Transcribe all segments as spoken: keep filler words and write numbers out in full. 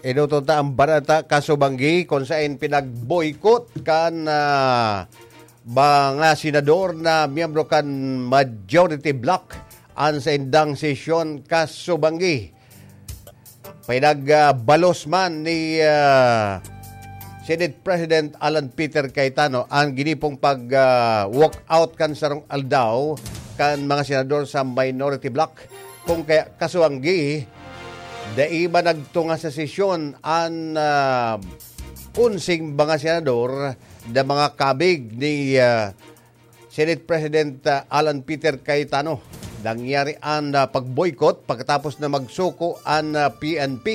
Inuton ta ang bareta kasubanggi kung saen pinag-boycott kan, ah, mga senador na miyembro kan majority bloc an saindang sesyon kasubanggi. Pinag, ah, balos man ni, ah, Senate President Alan Peter Cayetano ang ginipong pag, ah, walk out kan sarong aldaw kan mga senador sa minority bloc. Kung kaya kasubanggi, dai ba nagtunga sa sesyon an, ah, onseng mga senador na mga kabig ni, ah, Senate President, ah, Alan Peter Cayetano? Nangyari an, ah, pag-boycott pagkatapos na magsuko an, ah, P N P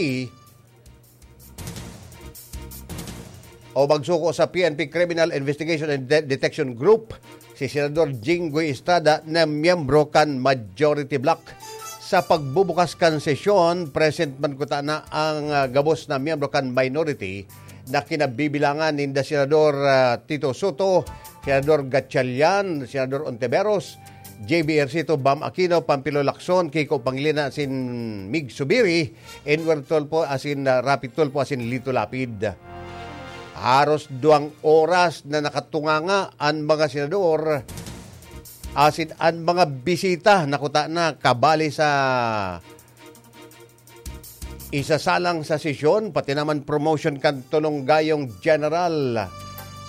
o magsuko sa P N P Criminal Investigation and De- Detection Group, si Senador Jinggoy Estrada na miyembro kan majority bloc. Sa pagbubukas kan sesyon, present man kuta na ang, ah, gabos na miyembro kan minority na kinabibilangan ninda Senador, ah, Tito Soto, Senador Gatchalian, Senador Ontiveros, J B Ejercito, Bam Aquino, Panfilo Lacson, Kiko Pangilinan asin Mig Zubiri, Enwer Tulfo asin, ah, Raffy Tulfo asin Lito Lapid. Haros duwang oras na nakatunganga an mga senador asin an mga bisita na kuta na kabali sa isasalang sa sesyon, pati naman promotion kan Tulong Gayong General.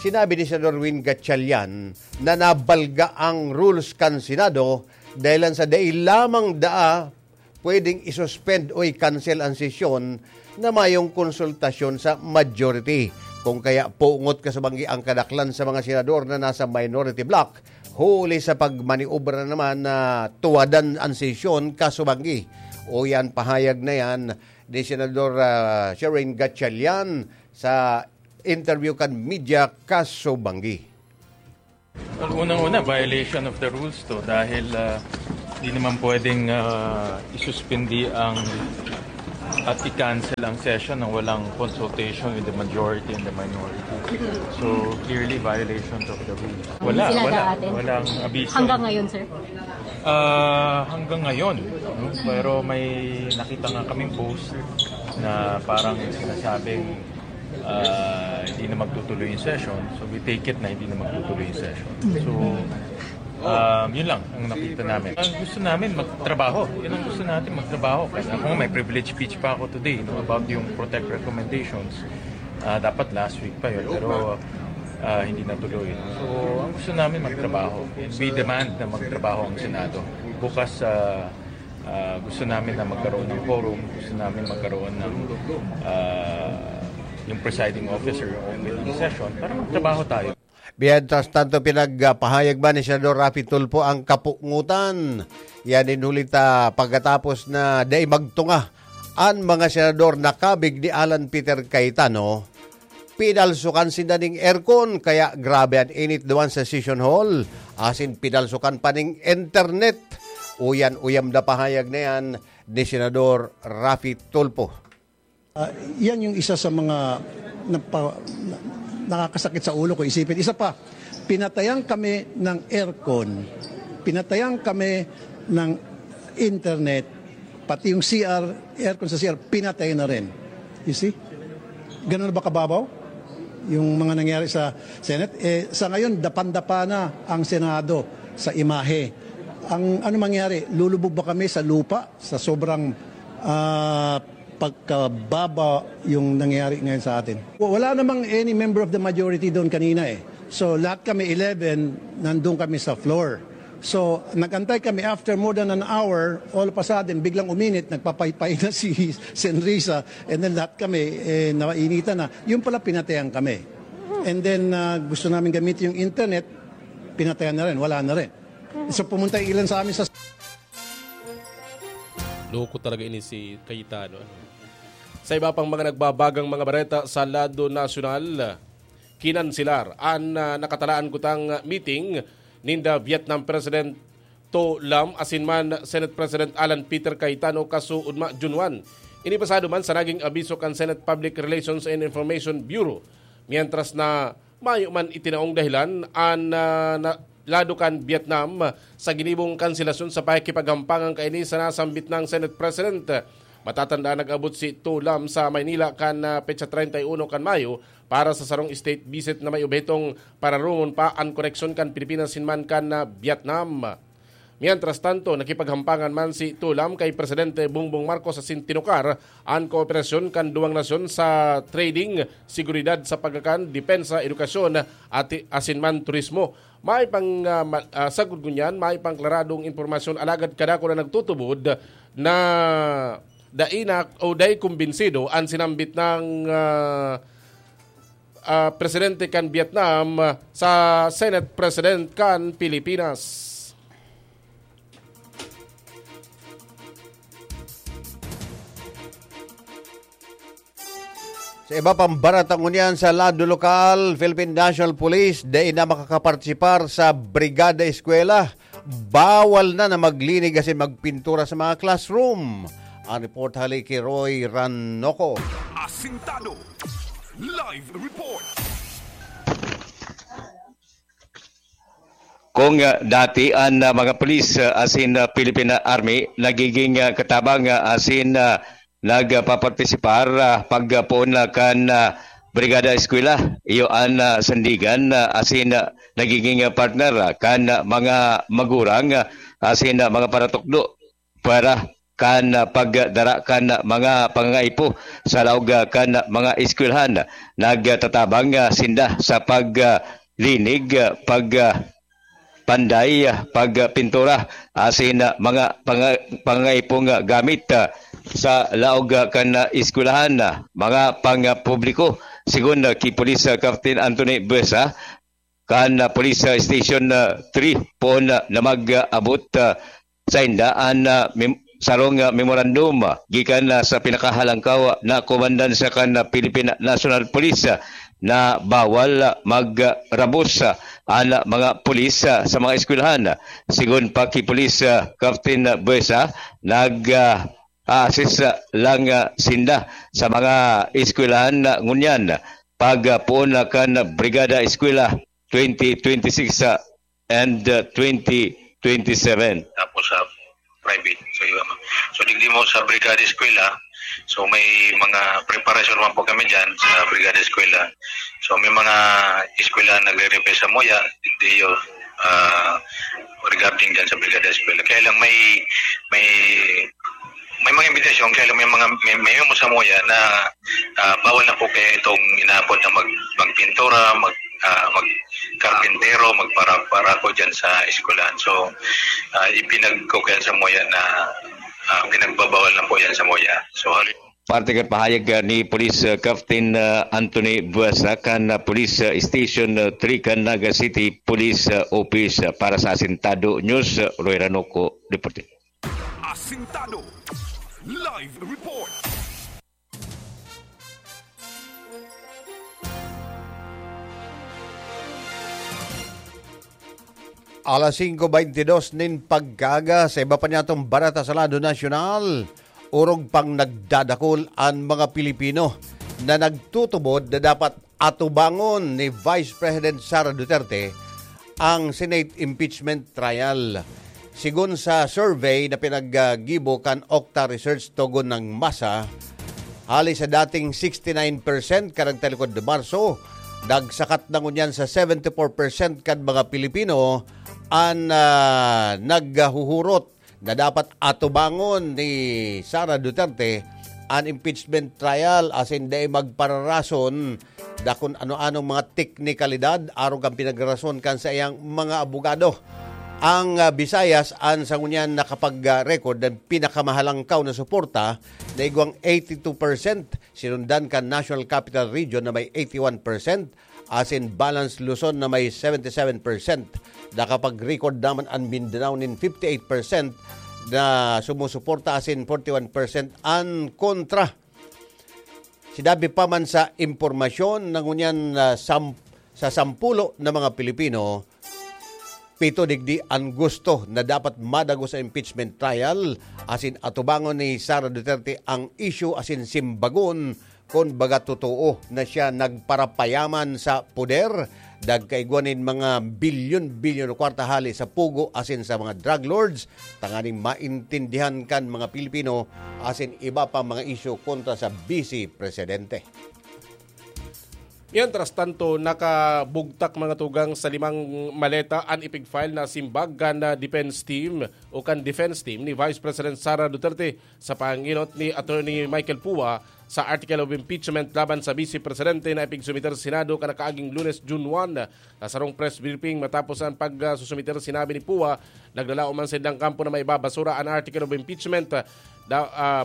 Sinabi ni Senador Win Gatchalian na nabalga ang rules kan Senado dahil lang sa dai lamang daa pwedeng isuspend o i-cancel ang sesyon na mayong konsultasyon sa majority. Kung kaya pungot kasubanggi ang kadaklan sa mga senador na nasa minority bloc, huli sa pagmaniobra naman na tuwadan ang sesyon kasubanggi. O yan, pahayag na yan ni Senador, ah, Sherwin Gatchalian sa interview kan media kasubanggi. Well, unang-una, violation of the rules to dahil ah, di naman pwedeng ah, isuspindi ang at i-cancel ang session nang walang consultation with the majority and the minority. So, clearly violations of the rules. Wala, Sila wala, daatin? Walang abiso. Hanggang ngayon, sir? Ah, hanggang ngayon, no? Pero may nakita nga kaming post na parang sinasabing ah, hindi na magtutuloy yung session. So we take it na hindi na magtutuloy yung session. So, um, yun lang ang nakita namin. Ang gusto namin, magtrabaho. Yun ang gusto natin, magtrabaho. Kasi ako, may privilege speech pa ako today, no, about yung protect recommendations. Ah, dapat last week pa yun, pero ah, hindi natuloy. So, ang gusto namin, magtrabaho. We demand na magtrabaho ang Senado. Bukas sa ah, gusto namin na magkaroon ng quorum, gusto namin magkaroon ng ah, yung presiding officer, yung opening session, para magtrabaho tayo. Mientras tanto, pinagpahayag man ni Senador Raffy Tulfo ang kapungutan. Yan din huli ta pagkatapos na dai magtunga an mga senador na kabig ni Alan Peter Cayetano, pinalsukan sinda ning aircon, kaya grabe an init duman sa session hall, asin pinalsukan pa ning internet. Uyan-uyam na pahayag na yan ni Senador Raffy Tulfo. Ah, yan yung isa sa mga napa, na, nakakasakit sa ulo ko isipin. Isa pa, pinatayan kami ng aircon. Pinatayan kami ng internet. Pati yung C R, aircon sa C R, pinatay na rin. You see? Ganun na ba kababaw? Yung mga nangyari sa Senate. Eh, sa ngayon, dapan-dapa na ang Senado sa imahe. Ang ano mangyari? Lulubog ba kami sa lupa sa sobrang ah, pagkababa yung nangyari ngayon sa atin? Wala namang any member of the majority doon kanina eh. So lahat kami eleven, nandun kami sa floor. So nagantay kami after more than an hour, all of a sudden, biglang uminit, nagpapaypay na si Senrisa, and then lahat kami, eh, nainitan na. Yung pala, pinatehan kami. And then, ah, gusto namin gamitin yung internet, pinatehan na rin, wala na rin. So pumunta yung ilan sa amin sa Loko talaga ini si Cayetano. Sa iba pang mga nagbabagang mga bareta sa lado nasyonal, kinanselar an ah, nakatalaan kutang meeting ninda Vietnam President To Lam asin man Senate President Alan Peter Cayetano kasuodma June one. Ini pasado man sa naging abiso kan Senate Public Relations and Information Bureau, mientras na mayo man itinaong dahilan an ah, na, lado kan Vietnam sa ginibong kanselasyon sa pakikipaghampangan kaini sa nasambit nang Senate President. Matatandaan, nag-abot si Thu Lam sa Maynila kan, ah, petsa treinta y uno kan Mayo para sa sarong state visit na may obhetong pararumon pa an koneksyon kan Pilipinas sin man kan, ah, Vietnam. Mientras tanto, nakipaghampangan man si Thu Lam kay Presidente Bongbong Marcos asin tinukar an kooperasyon kan duwang nasyon sa trading, seguridad sa pagkakan, depensa, edukasyon, at asin man turismo. May pang, ah, ma-, ah, sagkod ngunyan, may pang klaradong impormasyon, alagad kadakul na nagtutubod na dai na o dai kumbinsido an sinambit ng, ah, ah, presidente kan Vietnam, ah, sa Senate President kan Pilipinas. Sa iba pang barata ngunyan sa lado lokal, Philippine National Police dai na makakapartisipar sa Brigada Eskwela. Bawal na na maglinig asin magpintura sa mga classroom. Ang report hali ki Roy Ranoco. Asintado. Live report. Kung, ah, dati an, ah, mga pulis, ah, asin, ah, Philippine Army nagiging, ah, katabang, ah, asin, ah, nagpapartisipar, ah, pagpoon na kan, ah, Brigada Eskwela, iyo an, ah, sandigan, ah, asin, ah, nagiging, ah, partner, ah, kan, ah, mga magurang, ah, asin, ah, mga paratukdo para kan, ah, pagdara kan, ah, mga pangangaipo sa laog, ah, kan, ah, mga eskwelahan. Nagtatabang, ah, sinda sa pag, ah, linig, ah, pag, ah, panday, ah, pagpintura, asin, ah, mga panga-, pangaipong, ah, gamit, ah, sa laog, ah, kan, ah, eskwelahan, ah, mga pangpubliko. Sigon, ah, ki Police, ah, Captain Anthony Buesa, kan, ah, Police, ah, Station, ah, three, poon, ah, na mag-abot, ah, sainda an, ah, mem-, sarong, ah, memorandum, ah, gikan, ah, sa pinakahalangkaw na komandansya kan, ah, Philippine National Police, ah, na bawal, ah, magrabos, ah, an, ah, mga pulis, ah, sa mga eskwelahan. Sigon pa ki Police, ah, Captain Buesa, nag, ah, a-assist, ah, lang, ah, sinda sa mga eskwelahan na ngunyan. Pag, ah, poon na kan Brigada Eskwela twenty twenty-six, ah, and, uh, twenty twenty-seven. Tapos sa private. So, yun. So, digdi mo sa Brigada Eskwela, so may mga preparasyon naman po kami dyan sa Brigada Eskwela. So, may mga eskwela nagre-refer sa Moya, digdi yun, ah, regarding dyan sa Brigada Eskwela. Kaya lang may, may, may mga imbitasyon, kaya lang may mga, may, may mo sa Moya na, ah, bawal na po kaya itong inaabot na mag-, magpintura, mag-, ah, magkarpintero, magpara-, parako dyan sa eskwelahan. So, ah, ipinagkukuyan sa Moya na, ah, pinagbabawal na po yan sa Moya. So, hali- Parte kan pahayag, ah, ni Police, ah, Captain, ah, Anthony Buesa kan, ah, Police, ah, Station, ah, three kan Naga City Police, ah, Office, ah, para sa Asintado News, ah, Roy Ranoco, reporting. Asintado. Live report. Alas singko beintidos nin pagkaaga, sa iba pa niyatong barata sa lado nasyonal, orog pang nagdadakul an mga Pilipino na nagtutubod na dapat atubangon ni Vice President Sara Duterte ang Senate impeachment trial. Sigon sa survey na pinaggibo kan Okta Research togon nin masa, hali sa dating sixty-nine percent kan nagtalikod na Marso, nagsakat na ngunyan sa seventy-four percent kan mga Pilipino an, ah, naghuhurot na dapat atubangon ni Sara Duterte an impeachment trial asin dai magpararason da kun ano-anong mga teknikalidad arog kan pinagrarason kan saiyang mga abogado. Ang, ah, Visayas an sa ngunyan nakapag-record ng pinakamahalangkaw na suporta na igwang eighty-two percent, sinundan kan National Capital Region na may eighty-one percent, asin Balance Luzon na may seventy-seven percent. Nakapag-record naman an Mindanao nin fifty-eight percent na sumusuporta asin forty-one percent an kontra. Sinabi pa man sa impormasyon na ngunyan na sam-, sa sampulo na mga Pilipino, pito digdi an gusto na dapat madagos sa impeachment trial asin atubangon ni Sara Duterte ang isyu asin simbagon kun baga totoo na siya nagparapayaman sa poder Nagkaigwa nin mga bilyon-bilyon na kwarta hali sa pugo asin sa mga drug lords, tanganing maintindihan kan mga Pilipino asin iba pang mga isyu kontra sa Vice Presidente. Mientras tanto, nakabugtak, mga tugang, sa limang maleta an ipig-file na simbag kan, ah, defense team o kan defense team ni Vice President Sara Duterte sa panginot ni Attorney Michael Pua sa article of impeachment laban sa Vice Presidente na ipigsumiter sa Senado kan nakaaging Lunes, June one. Sa sarong press briefing matapos an pagsusumiter, sinabi ni Pua, naglalaom man sa indang kampo na maibabasura an article of impeachment. Da-, ah,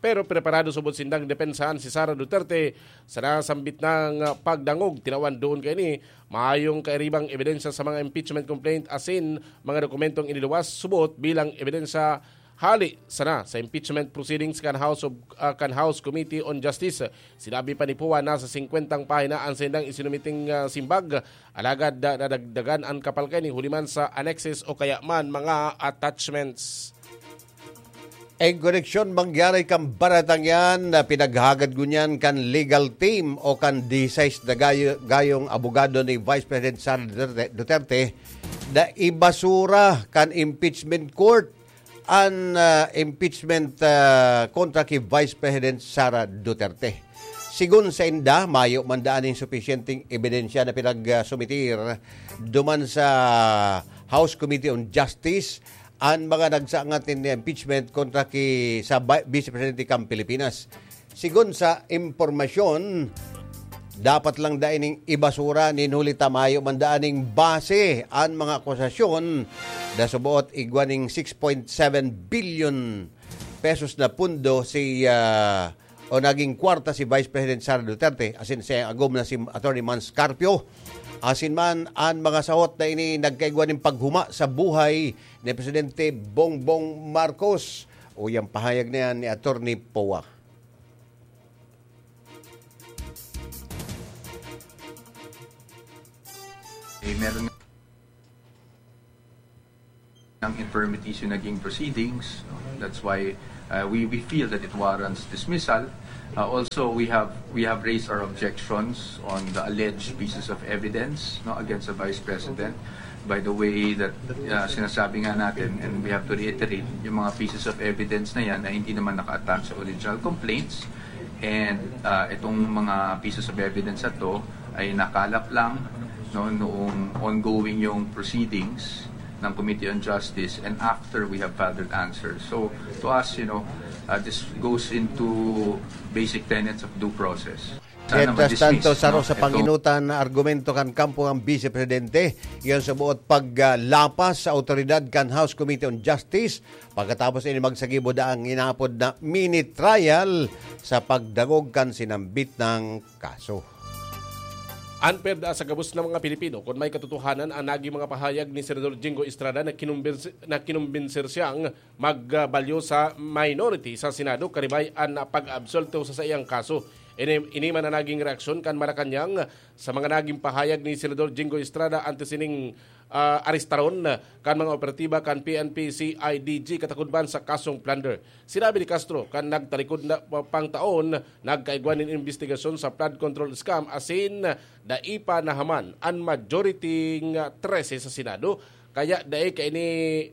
pero preparado subot sindang depensahan si Sara Duterte sa nasambit nang, ah, pagdangog. Tinawan duon kaini mayong kairibang ebidensya sa mga impeachment complaint asin mga dokumentong iniluwas subot bilang ebidensya hali sana sa impeachment proceedings kan House of, ah, kan House Committee on Justice. Sinabi pa ni Pua na sa singkwentang pahina an saindang isinumiting, ah, simbag, alagad, ah, nadagdagan an kapal kaini huli man sa annexes o kaya man mga attachments. En koneksyon mangyari kan baretang yan na pinaghagad ngunyan kan legal team o kan disais na gayo-, gayong abogado ni Vice President Sara Duterte, Duterte na ibasura kan impeachment court an, ah, impeachment, ah, kontra ki Vice President Sara Duterte. Sigon sa inda, mayo man daa nin supisyenteng ebidensya na pinagsumiter duman sa House Committee on Justice an mga nagsangat nin impeachment kontra ki sa Vi-, Vice Presidente kan Pilipinas. Sigon sa impormasyon, dapat lang dai ning ibasura nin huli ta mayo man daa ning base an mga akusasyon na suboot igwa ning six point seven billion pesos na pundo si, ah, o naging kwarta si Vice President Sara Duterte, asin sa agom na si Attorney Mans Carpio. Asin man, an mga sahot na ini nagkaigwa nin paghuma sa buhay ni Presidente Bongbong Marcos. Uyang pahayag na yan ni Attorney Poa. Eh, meron ng infirmities yung naging proceedings. No? That's why uh, we, we feel that it warrants dismissal. Uh, also, we have we have raised our objections on the alleged pieces of evidence, no, against the Vice President. By the way that uh, sinasabi nga natin, and we have to reiterate, yung mga pieces of evidence na yan ay hindi naman naka-attach sa original complaints. And uh, itong mga pieces of evidence na to ay nakalap lang, no, noong ongoing yung proceedings ng Committee on Justice, and after we have filed our answers. So, to us, you know, uh, this goes into basic tenets of due process. Sana Mientras tanto, ma-dismiss, saro no? sa Ito panginutan na argumento kan kampo kan Vice Presidente, iyan sa buot paglapas sa awtoridad kan House Committee on Justice, pagkatapos ini magsagibo daang inapod na mini trial sa pagdangog kan sinambit na kaso. Unfair daa sa gabos na mga Pilipino kun may katotohanan an naging mga pahayag ni Senador Jingo Estrada na kinumbinsi-, na kinumbinser siyang magbalyo sa minority sa Senado karibay an pag-absolto sa saiyang kaso. Ini, ini man an naging reaksyon kan Malacañang sa mga naging pahayag ni Senador Jingo Estrada antes ining, ah, arestaron kan mga operatiba kan P N P C I D G katakod man sa kasong plunder. Sinabi ni Castro kan nagtalikod na pang taon, nagkaigwa nin imbestigasyon sa flood control scam asin dai pa nahaman an majority nga trese sa Senado, kaya dai kaini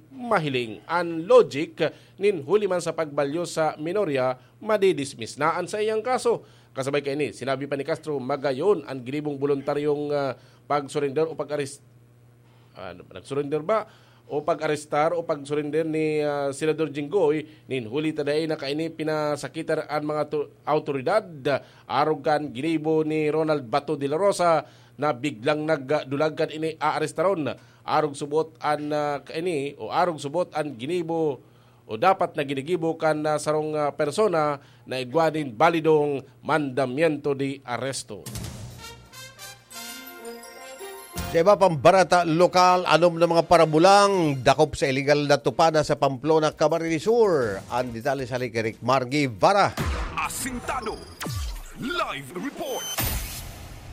mahiling. An logic nin huli man sa pagbalyo sa minorya, madidismiss na an saiyang kaso. Kasabay kaini, sinabi pa ni Castro, magayon an ginibong boluntaryong, ah, pag-surrender o pag-arrest, ano, nag-surrender ba o pag-arestar o pag-surrender ni, ah, Senador Jinggoy nin huli ta dai na kaini pinasakitan an mga to-, awtoridad, arog kan ginibo ni Ronald Bato de la Rosa na biglang nagdulag kan ini aarestaron. Arog subot an, ah, kaini o arog subot an ginibo o dapat na ginigibo kan, ah, sarong, ah, persona na igwa nin balidong mandamiento de aresto. Sa iba pang barata lokal, anom na mga parabulang dakop sa iligal na tupada sa Pamplona, Camarines Sur. Ang detalye sa Likirik, Margie Vara. Asintado. Live report.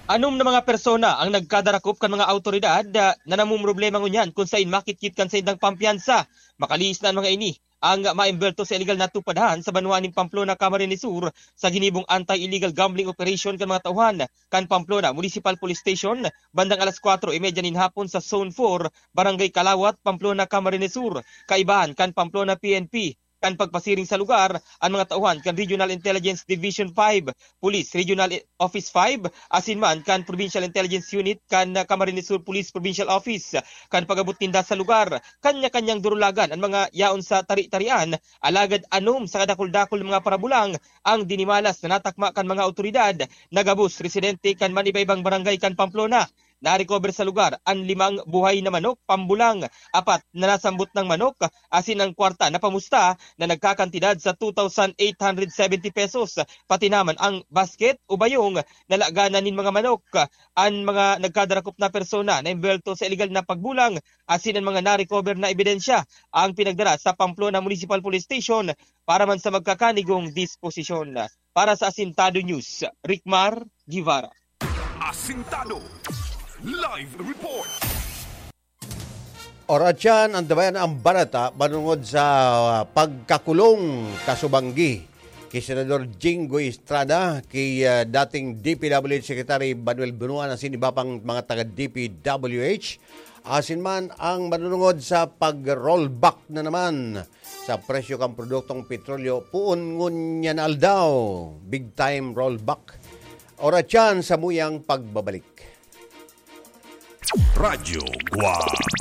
Anom na mga persona ang nagkadarakop kan mga awtoridad, ah, na namumroblema ngunyan kun sain makitkit kan saindang pampiyansa. Makalihis na an mga ini ang maembwerto sa iligal na tupadhan sa banwaan nin Pamplona, Camarines Sur, sa ginibong anti-illegal gambling operation kan mga tauhan kan Pamplona Municipal Police Station bandang alas kwatro y media nin hapon sa Zone four, Barangay Calawat, Pamplona, Camarines Sur. Kaibahan kan Pamplona P N P kan pagpasiring sa lugar an mga tauhan kan Regional Intelligence Division five, Police Regional Office five, asin man kan Provincial Intelligence Unit kan Camarines Sur Police Provincial Office. Kan pag-abot ninda sa lugar, kanya-kanyang durulagan an mga yaon sa tari-tarian, alagad anom sa kadakul-dakul na mga parabulang ang dinimalas na natakma kan mga awtoridad na gabos residente kan manibaybang barangay kan Pamplona. Narecover sa lugar an limang buhay na manok, pambulang, apat na nasambot nang manok, asin ang kwarta na pamusta na nagkakantidad sa two thousand eight hundred seventy pesos, pati naman ang basket o bayong na laganan nin mga manok. An mga nagkadarakop na persona na embwelto sa iligal na pagbulang asin an mga narecover na ebidensya ang pinagdara sa Pamplona Municipal Police Station para man sa magkakanigong disposisyon. Para sa Asintado News, Rickmar Guevara. Asintado. Live report. Oratyan, antabayan ang balita manungod sa pagkakulong kasubanggi ki Senador Jinggoy Estrada, ki, ah, dating D P W H Secretary Manuel Bunuan asin iba pang mga taga D P W H. Asin man ang manunungod sa pag-rollback na naman sa presyo kan produktong petrolyo, poon ngunyan na aldaw, big time rollback. Oratyan sa muyang pagbabalik. Radyo Guwang.